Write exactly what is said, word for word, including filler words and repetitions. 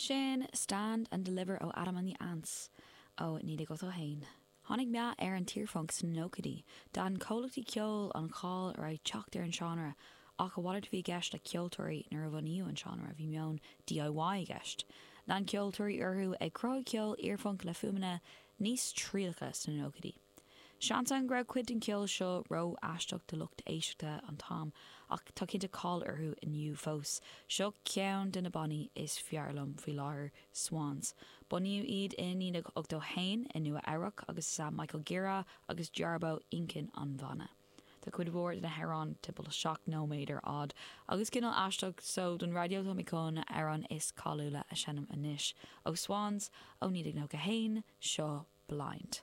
Sin Stand and Deliver ó Adam and the Ants ó naoi déag ochtó haon. Tháinig meath ar an iarphunc sna nóchaidí, d'aithin comhlachtaí ceoil an cháil a raibh ag teacht ar an seánra, ach a mhalairt a bhí i gceist le ceoltóirí nuair a bunaíodh an seánra, bhí meon DIY i gceist. Lean ceoltóirí orthu ag cruthú ceol iarphunc le fuaimeanna níos trialacha sna nóchaidí. Seans ann go raibh cuid den cheol seo ró-aisteach do lucht éisteachta an t-am, ach tá cinnte cáil orthu inniu fós. Seo ceann de na bannaí is fearr liom faoi láthair Swans. Bunaíodh iad i naoi déag ochtó haon i Nua Eabhrac agus is é Michael Gira agus Jarbo inchinn an bhanna. Tá cuid mhór de na hamhráin timpeall seacht nóiméad ar fhad agus cineál aisteach so don raidió tá mé chun amhrán is cáiliúla a sheinm anois. Ó Swans ó naoi déag nócha haon seo Blind.